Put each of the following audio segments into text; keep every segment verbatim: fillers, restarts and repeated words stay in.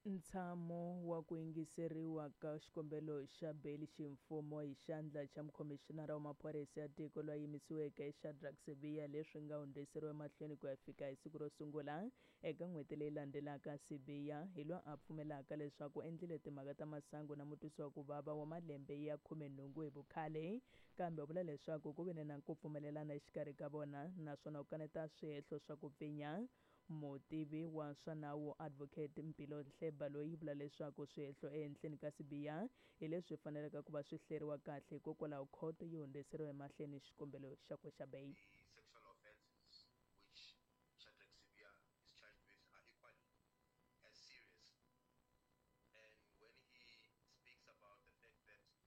Ntshamo wa ku yingiseriwa ka xikombelo xa beyili ximfumo hi xandla xa mukhomixinara wa maphorisa ya tiko loyi yimisiweke Shadrack Sibiya leswi nga hundziseriwa emahlweni ku ya fika hi siku ro sungula eka n'hweti leyi landzelaka. Sibiya hi loyi a pfumelaka leswaku endlile timhaka ta masangu na mutwisi wa ku vava wa malembe ya khumenhungu hi vukhale, kambe u vula leswaku ku vile na ku pfumelelana exikarhi ka vona naswona u kaneta swihehlo swa ku pfinya. Mutivi wa swa nawu Advocate Mpilo Nhleba loyi vula leswaku swihehlo ehenhleni ka Sibiya hi leswi faneleke ku va swi hleriwa kahle, hikokwalaho khoto yi hundziseriwe emahlweni xikombelo xakwe xa beyili. Sexual offences which Shadrack Sibiya is charged with are equally as serious. And when he speaks about the fact that he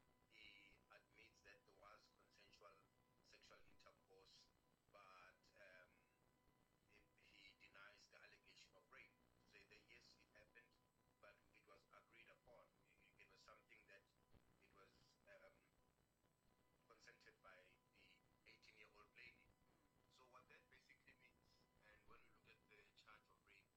admits that there was consensual sexual intercourse, but um, he, he denies the allegation of rape. To say that yes, it happened, but it was agreed upon. It, it was something that it was um, consented by the eighteen-year-old lady. So what that basically means, and when we look at the charge of rape,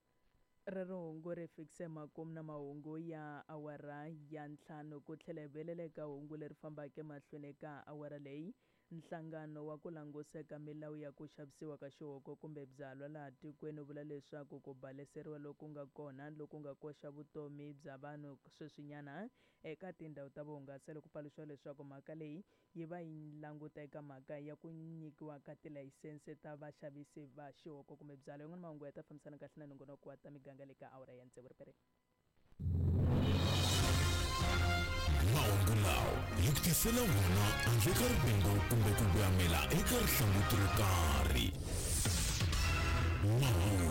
Rero hungu ri fikise makumu na mahungu ya awara ya ntlhanu ku tlhela hi vuyelela eka hungu leri fambaka emahlweni eka awara leyi. Nhlangano wa ku languseka milawu ya ku xavisiwa ka xihoko kumbe byalwa laha tikweni wu vula leswaku ku baleseriwa loku nga kona loku nga koxa vutomi bya vanhu sweswinyana eka tindhawu ta vuhungaselo ku paluxiwa leswaku mhaka leyi yi va yi languta eka mhaka ya ku nyikiwa ka tilayisense ta vaxavisi va xihoko kumbe byalwa. Yin'wana mahungu ya ta fambisana kahle na nongonoko wa ta miganga le ka awara ya tsevu ripere. Mahungu lawa hi ku tisela wona handle ka rivengo kumbe ku voyamela eka rihlanguti ro karhi. Mahungu